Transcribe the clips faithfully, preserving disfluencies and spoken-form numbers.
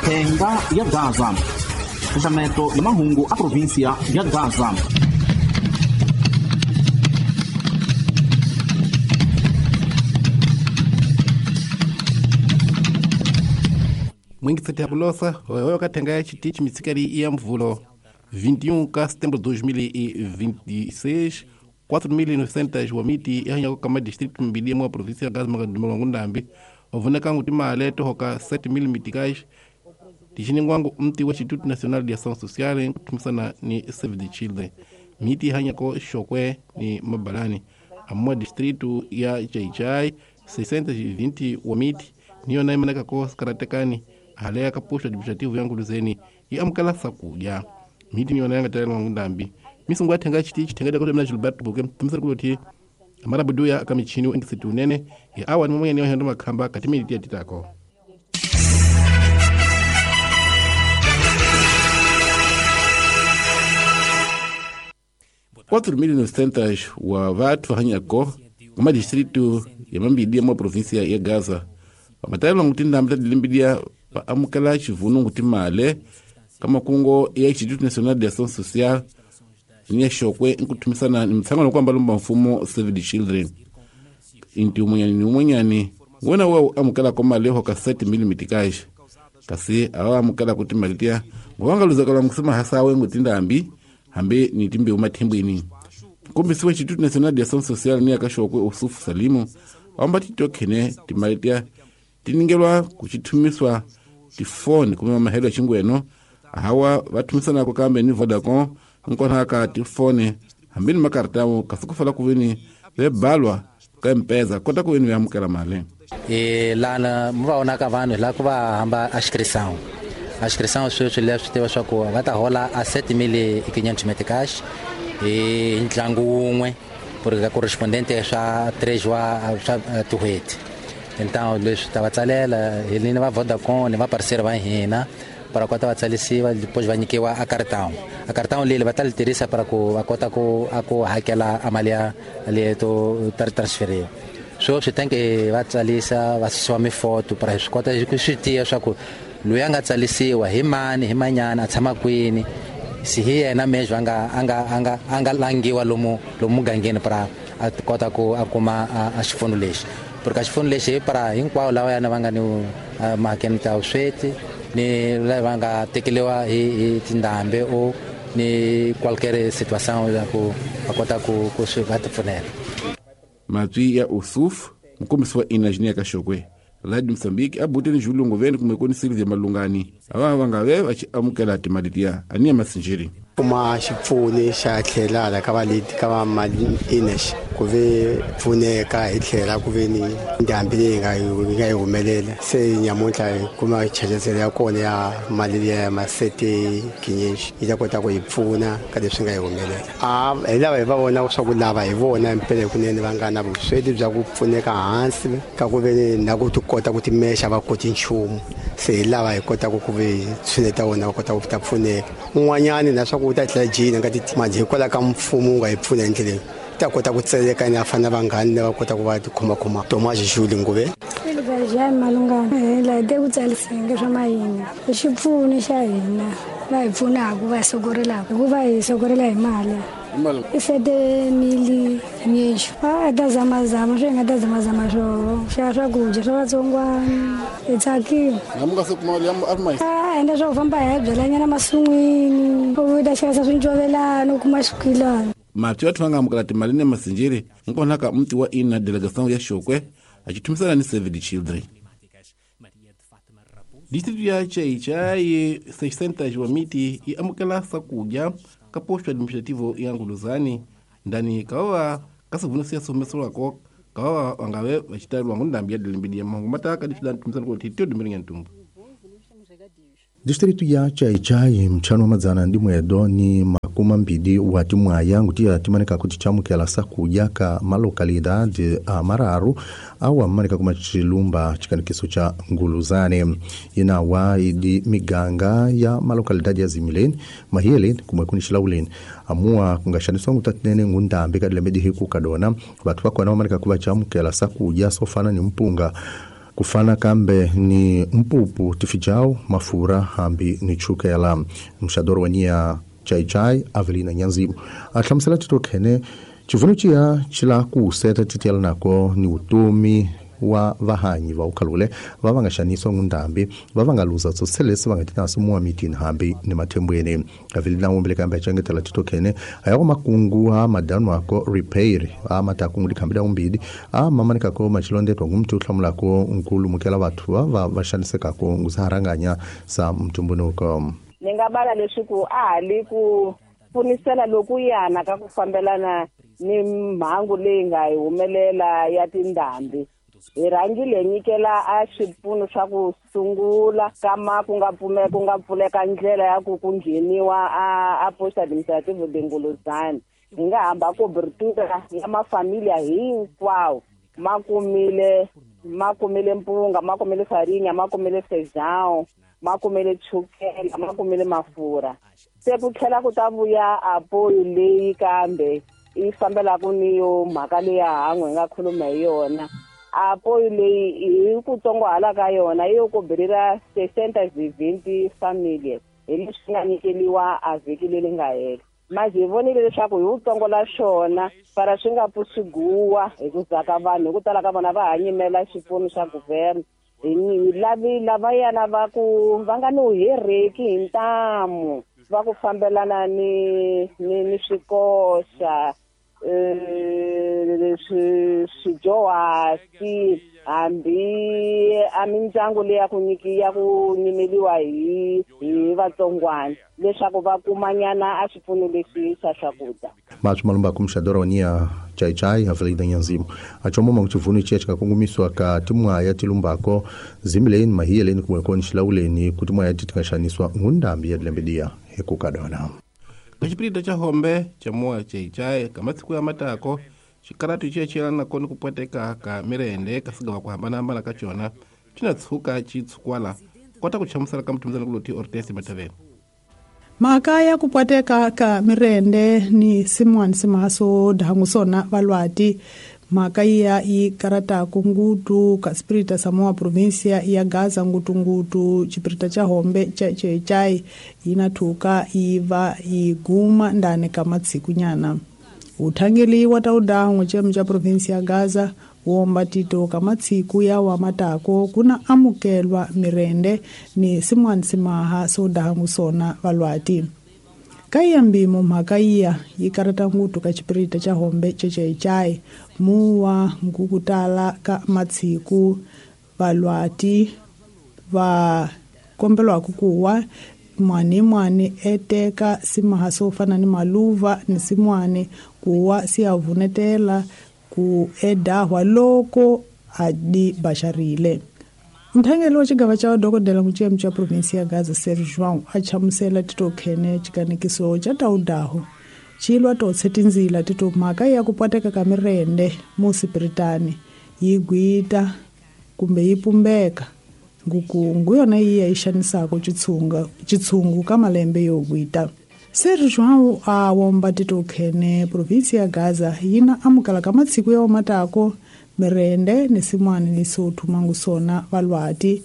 Thenga ya Gaza. Xaxameto ya mahungu a província ya Gaza. Mwingiseti ya kulosa wewe kathenga ya chitichi mitsikali ya mvulo vinte e um de setembro de dois mil e vinte e seis, quatro mil e novecentos wa miti ya hanya kama distrito mbili mwa província ya Gaza magadumelo ngundambi wavuneka nguti male tohoka sete mil mitikais tixiningwangu mti wa Instituto Nacional de Ação Social kutumisana ni Save the Children miti hanyako Xokwe ni Mabalani amwa distrito ya Chaichai seiscentos e vinte wa miti niyo naimaneka ko skaratekani haleya kapuxo administrativo ya Nguluzeni yi amukela sakudya miti niyo nayanga talela ngundambi misungu ya thenga chitichi thenga dakota mina Gilberto Buke tumisana kuloti amarabuduya akamichini engisiti unene ya awa ni momwe niyo hendo makhamba katimiti ya titako. quatro mil e novecentos wa vathu hanyako kuma distrito ya Mambidi mwa província ya Gaza vamatayela nguti ndambi ta dilimbidia va amukela xivunu nguti male ka makungo ya Instituto Nacional de Ação Social ni ya Xokwe nkuthumisana ni mtshangano kwamba lumba mfumo Save the Children inti umunyani ni umunyani wona wa amukela ko male ho ka sete mil mitikais kasi awa amukela kuti malitia ngwanga luzakala mkusema hasawe nguti ndambi hambe ni timbe umathimbwini kumbisiwe Instituto Nacional de Ação Social ni akaxokwe Usufu Salimu amba titokhene timalitia tiningelwa kuchithumiswa tifoni kumema mahelo ya xingweno hawa vathumisanako kambe ni Vodacom nkona ka tifoni hambi ni makartamu kasi ku fala kuveni vebalwa ka mpeza kota kuveni veamukela mali e lana mi va vonaka vanhu la ku va hamba a inscrição a inscrição sweswi leswi tiva swa ku va ta hola a sete mil e quinhentos meticais hi ntlangu wun'we porque ka correspondente swa três wa swa tin'hweti. Então leswi ta va tsalela hi ni va Vodacom ni va parceiro va hina para kota va tsalisiwa depois va nyikiwa a cartão a cartão leli va ta li tirhisa para ku va kota ku a ku hakela a mali ya leto transferir so swi tem que va tsalisa va susiwa mifoto para swi kota ku swi tiya swa ku loyi a nga tsalisiwa hi mani hi manyana a tshama kwini si hi yena mesmo a nga a nga a nga a nga langiwa lomu lomu mugangeni para a kota ku a kuma a xipfuno lexi porque a xipfuno lexi para hinkwavo lava yana va nga ni mhakeni ta vusweti ni lava nga tekeriwa hi hi tindhambi o ni qualquer situação ya ku va kota ku ku swi va tipfunela. Matwi ya Usuf mukombisi wa Inajini ka Xokwe Radio Mozambique abuteni Julungu veni kumwe koni Silvia Malungani ava va nga ve va xi amukela timali tiya ani ya masinjiri kuma xipfuni xa tlhela la ka valeti ka va mali inex ku ve pfuneka hi tlhela ku ve ni ndhambi leyi nga yi nga yi humelela se nyamuntlha hi kuma chacheselo ya kona ya mali liya ya masete kinyex yi ta kota ku hi pfuna ka leswi nga yi humelela a hi lava hi va vona swa ku lava hi vona mpela kunene va nga na vusweti bya ku pfuneka hansi ka ku ve na ku ti kota ku timexa va koti nchumu se hi lava hi kotaka ku ve tshuneta vona va kota ku ta pfuneka un'wanyani na swa ku ta tlhela jina ka manje hikwalaho ka mfumo wu nga hi pfuna hi ndlela ta kota ku tseleka ni afana vanghani lava kota ku va tikhomakhoma Tomas Juli Nguve ja Malungana hi la de ku tsalisenge swa mayini i xipfuno xa hina va hi pfunaka va sokorelaka hikuva hi sokorela hi mali i sete mili nyexo a ta zamazama swi nga ta zamazama swo xa swakudya swa vatsongwana hi tsakile a endla swa ku famba hi ya byelanyana masun'wini u ta xavisa swincovelana u kuma swikilana. Mati vathu va nga amukela timali ni masinjiri nkona ka mti wa ina delegação ya Xokwe a xithumisana ni Save the Children. Distrito ya Chaichai seiscentos wa miti yi amukela sakudya ka posto administrativo ya Nguluzani ndani kawa kasivuna siya somesolwako kawa wangave vaxitalwa ngundambi ya dilimbidi ya mahungu mataka difidanthumisana ku titio dumiringa ntumbu. Distrito ya Chaichai mchano wa madzana ndi mwedo ni makumi mbili wa timwaya nguti timanika kuti chamukela sakudya ka malokalidade a mararu awa manika kuma chilumba chikanikiso cha Nguluzane inawa idi miganga ya malokalidade ya Zimileni Mahieleni kumwe kuni Xilauleni amua kungashaniswa ngutatinene ngundambi kadile medi hiku kadona batu bakwana manika kuba chamukela sakudya sofana ni mpunga Kufana kambe ni mpupu tifijao mafura hambi ni chukela. Mxadoro wa nia Chai Chai Avelina Nyanzimu a hlamusela tito khene chivuno chiya chila ku seta titela nako ni utomi wa vahanyi va ukhalule va va nga xaniswa ngundambi va va nga luza tsoselesi va nga tinaso muwa mitini hambi ni mathembweni. Avelina wombele kambe achengetela tito khene aya ko makungu ha madanu ako repair a matakungu dikhambida umbidi a mamanika ko machilondetwa ngumtu hlamulako nkulu mukela vathu va va va xanisekako ngusaharanganya sa mtumbunuko. Ni nga bala leswaku a ha li ku pfunisela lokuyana ka ku fambelana ni mhangu leyi nga hi humelela ya tindhambi. Hi rhangile hi nyikela a swipfuno swa ku sungula kama ku nga pfume ku nga pfuleka ndlela ya ku ku ngheniwa a a post administrative de Ngolozana. Hi nga hamba cobertura ya mafamilia hinkwawo ma kumile ma kumile mpunga, ma kumile farinha, ma kumile feijão, ma kumile chukela, ma kumile mafurha. Se ku tlhela ku ta vuya apoyo leyi kambe yi fambelaka ni yo mhaka leya han'we hi nga khuluma hi yona. Apoyo leyi hi ku tsongohala ka yona yi yo koberira sessenta e vinte famílias hi leswi nga nyikeliwa a vhiki leri nga hela. Mas hi vonile leswaku hi wutsongo la xona para swi nga pfuxiguwa hi ku zaka vanhu hi ku tala ka vona va ha nyimela xipfuno xa guverne. Hi lavi lavayana va ku va nga ni hereki hi ntamu va ku fambelana ni ni ni swikoxa eh swijohasi hambi a mindyangu leyi ya ku nyiki ya ku nyimeliwa hi hi vatsongwana leswaku va kumanyana a xipfuno lexi xa swakudya. Matsho malumba kumxadora wa nia Chai Chai Avelina Nyanzimu achomoma kuchivunu ichiya chikakungumiswa ka timwaya tilumbako zimileni mahiyeleni kumwekoni xilawuleni kuti mwaya titingaxaniswa ngundambi ya dilembedia hekukadona. Kachipirita cha hombe cha moa Chai Chai kamatsiku ya matako xikaratu chiya chiyelana koni kupweteka ka mirende kasigawa ku hambanahambana ka chona china tshuka chitshukwala kota ku chamusela ka mutumizana kuloti Ortesi Mataveni. Mhaka ya ku pwateka ka mirende ni simwani simaso dangu sona valwati mhaka iya yi karataku ngutu ka spirita samoa provincia ya Gaza ngutungutu chipirita cha hombe cha Chai Chai yinathuka yiva yiguma ndani ka matsiku nyana. Uthangeli wa taudangu chemu cha provincia ya Gaza womba tito ka matsiku ya wa matako kuna amukelwa mirende ni simwani simaha so dangu sona valwati. Kaya mbimo mhaka iya yi karata ngutu ka chipirita cha hombe cha Chai Chai muwa ngukutala ka matsiku valwati va kombelwa kukuwa mwani mwani eteka simaha so fana ni maluva ni simwani kuwa siyavunetela ku edahwa loko adi basharile. Mthangeli wa xigava xa dokodela mucemu xa provinsi ya Gaza Sergio João a chamusela tito khene xikanekiso xa taudaho xilwa totse tindzila tito mhaka ya ku pwateka ka mirende musipiritani yi gwita kumbe yi pumbeka ngukungu yona yi ya yi xanisaka xitshunga xitshungu ka malembe yo gwita. Sergio João a womba tito khene provinsi ya Gaza yina amukela ka matsiku ya matako mirende ni simwani ni sothu mangusona valwati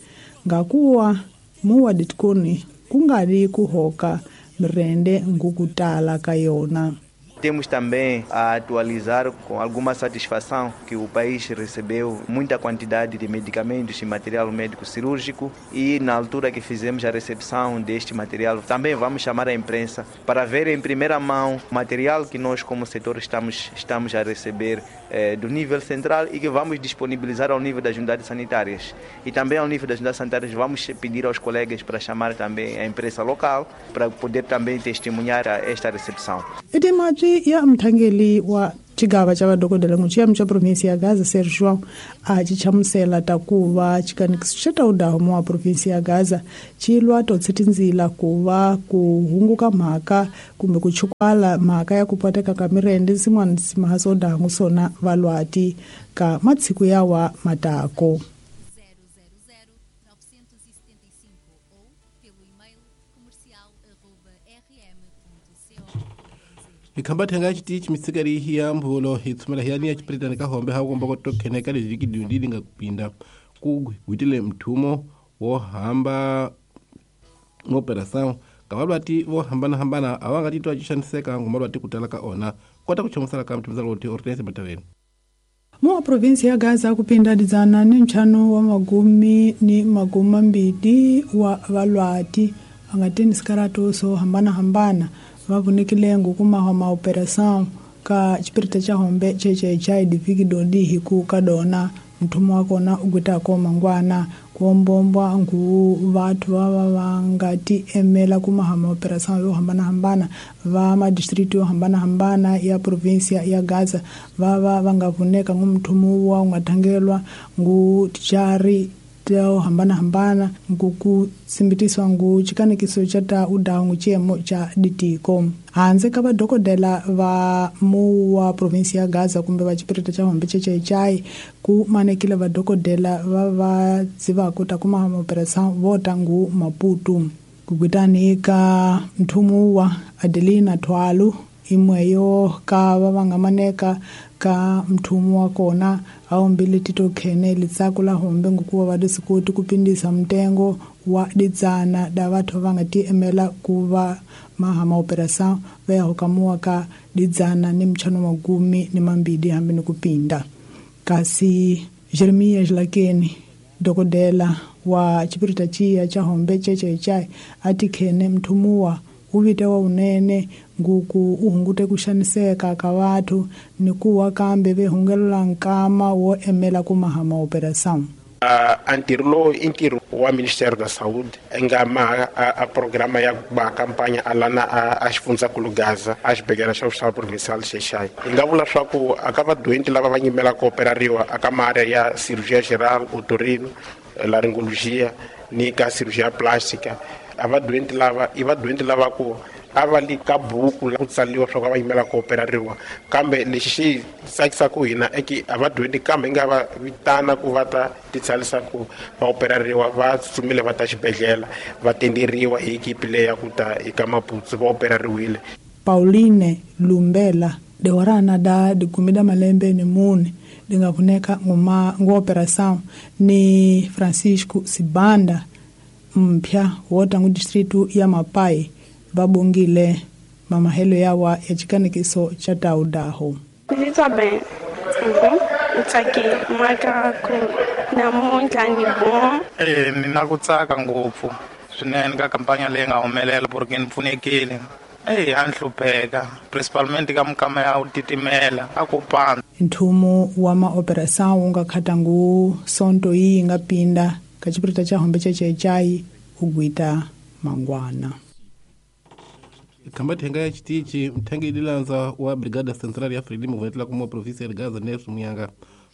ngakuwa muwa ditkoni kungali kuhoka mirende ngukutala ka yona. Temos também a atualizar com alguma satisfação que o país recebeu muita quantidade de medicamentos e material médico cirúrgico e na altura que fizemos a recepção deste material também vamos chamar a imprensa para ver em primeira mão o material que nós como setor estamos, estamos a receber eh, do nível central e que vamos disponibilizar ao nível das unidades sanitárias. E também ao nível das unidades sanitárias vamos pedir aos colegas para chamar também a imprensa local para poder também testemunhar esta recepção. Ya mthangeli wa xigava xa vadokodela n'wexemu xa provinsi ya Gaza Sergio João a xi chamusela ta ku va xikanekiso xa taudaho wa provinsi ya Gaza xi lwa totse tindzila ku va ku hunguka mhaka kumbe ku chukwala mhaka ya ku pwateka ka mirende sin'wana simahaso dangu sona valwati ka matsiku yawa matako. Ikhamba thenga xitichi mitsikari hi ya mbhulo hi tshumela hi ya niya xipiritani ka hombe ha komba ko tokheneka leswi kidundili nga kupinda ku gwitile mthumo wo hamba operação ka valwati vo hambanahambana a va nga titwa xaniseka ngoma lwati ku tala ka ona kota ku chamusela ka mthumuzalo ti Hortense Mataveni. Mu provinsi ya Gaza kupinda dzana ni ntlhanu wa magumi ni magumi mambili wa valwati va nga tini sikaratu swo hambanahambana va vunekile ngukuma wa maoperação ka xipirita xa hombe C H H I diviki dodi hi ku ka dona mthumo wa kona u gwitako mangwana kuombombwa ngu vathu va va va nga ti emela ku maha operação yo hambanahambana va madistrito yo hambanahambana ya provinsia ya Gaza va va va nga vuneka ngu mthumo wa nga thangelwa ngu tichari to hambanahambana ngu ku simbitiswa ngu chikanekiso cha ta udawu chiemo cha ditiko hanze ka vadokodela va mu wa provinsi ya Gaza kumbe va xipirita xa hombe C H H I ku manekile vadokodela va va dzivako ta kuma operação vo ta ngu Maputo kugwitani ka mthumu wa Adelina Thwalo imweyo ka va va nga maneka ka mthumu wa kona a ombile tito khene litsako la hombe ngukuva va disikoti ku pindisa mtengo wa didzana da vathu va nga ti emela ku va maha maoperação va ya hokamuwa ka didzana ni mchano magumi ni mambili hambi ni kupinda. Kasi Jeremiah Jlakeni dokodela wa xipirita chiya cha hombe C H H I a ti khene mthumuwa wu vita wa unene nguku u hungute ku xaniseka ka vathu ni ku wa kambe ve hungelela nkama wo emela ku maha maoperação. A ntirho lowu i ntirho wa Ministério da Saúde nga ma a, a programa ya ba campanha a lana a, a xifundzankulu Gaza a xibedhlele xa hospital provincial Xexai. Hi nga vula swa ku aka vadoenti lava va nyimela ku operariwa aka maarea ya cirurgia geral, otorino, laryngologia ni ka cirurgia plástica, a vadoenti lava i vadoenti lava ku a va li ka buku la ku tsaliwa swa ku a va yimela ku operariwa, kambe lexi xi tsakisaka hina i ki a va dyondzi kambe hi nga va vitana ku va ta titsalisa ku va operariwa, va tsutsumile va ta xibedhlele va tenderiwa hi ekipi leyi ya ku ta eka Maputo va operariwile. Pauline Lumbela dewarana da dikumi da malembe ni mune dinga vuneka nguma ngu operação ni Francisco Sibanda mpya wota ngu distritu ya Mapai babongile mamahelo yawa ya chikanekiso cha taudaho. Ndzi titwa bem ni tsakile mhaka ku namuntlha ni bon. E ni na ku tsaka ngopfu swinene ka kampanya leyi nga humelela porque ni pfunekile. Eyi a ni hlupheka principalmente ka mikama ya ku titimela a ku pandza. Nthumo wa maoperação wu nga khata ngu sonto yi nga pinda ka xipirita xa hombe C H H I u gwita mangwana. Khamba thenga ya xitichi mthengi dilanza wa Brigada Central ya Frelimo vuetla kuma province ya Gaza Nelson Muyanga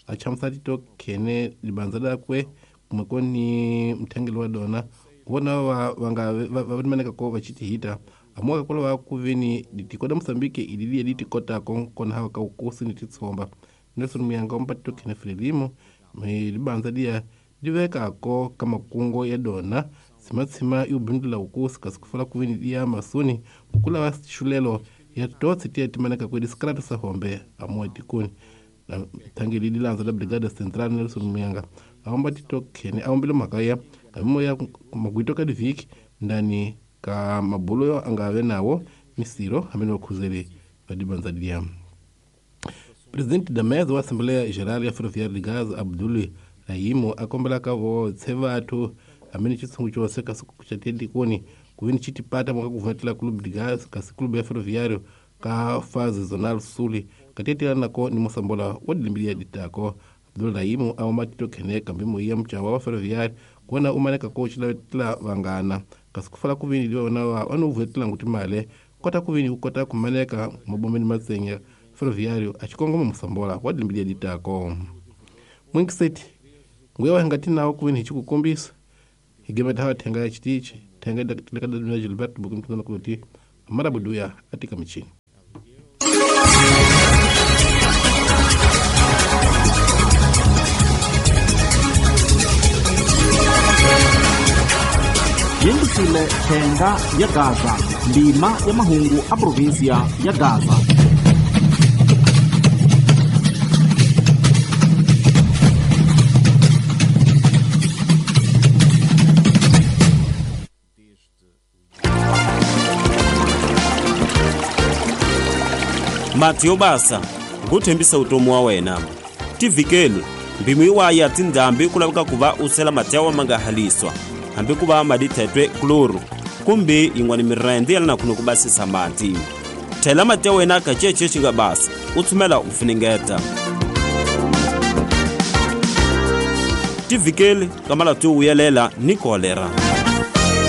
a chamusa tito khene libanza lakwe kumwe koni mthengeli wa dona vona va va nga va maneka ko va chitihita amoka kola va kuveni ditiko da Mozambique ilili ditikota kon kona ha ka ukosi ni titsomba. Nelson Muyanga ompa tito khene Frelimo me libanza dia diveka ko kamakungo ya dona simatsima yubindula ukosi kasi kufala kuveni dia masoni kukula wa xulelo ya totsi tiya timaneka kwedi skrata sa hombe amoa tikoni na thangeli dilanza la Brigada Central Nelson Muyanga aomba tito khene aombile mhaka ya kamimo ya magwito ka diviki ndani ka mabulo yo angave nawo misiro hamene wakhuzele vadibanza dia. Presidente da mesa wa Assembleia Geral ya Ferroviária de Gaza Abdul Rahimo akombela ka votse vathu amene chitsungu chose kasi kuchatendikoni kuveni chitipata mwaka kuvumetela Clube de Gaza kasi Clube ya Ferroviário ka fase zonal suli katetela nako ni mosambola wa dilimbilia ditako. Abdul Rahimo aomba tito khene kambimo ya mchawa wa Ferroviário kuona umaneka ko chilavetela vangana kasi kufala kuveni liwa na wa anovuetela nguti male kota kuveni ukota kumaneka mabombeni matsenya Ferroviário achikongoma musambola wa dilimbilia ditako. Mwingiseti nguya wahangati nawo kuveni hichikukombisa higemeta hawa thenga ya chitichi thenga dakadaduna Gilberto bukumtuna kuti amarabuduya atika michini. Yingisile thenga ya Gaza ndima ya mahungu a provinsia ya Gaza. Mati yo basa ku thembisa vutomi wa wena. Tivhikeli mpimo yiwa ya tindhambi ku laveka ku va u sela mati ya wa ma nga haliswa hambi ku va madithetwe kloro kumbe yin'wana mirende ya lana ku basisa mati. Thela mati ya wena ka cece xi nga basa u tsumela u funengeta. Tivhikeli ka malati yo vuyelela ni kolera.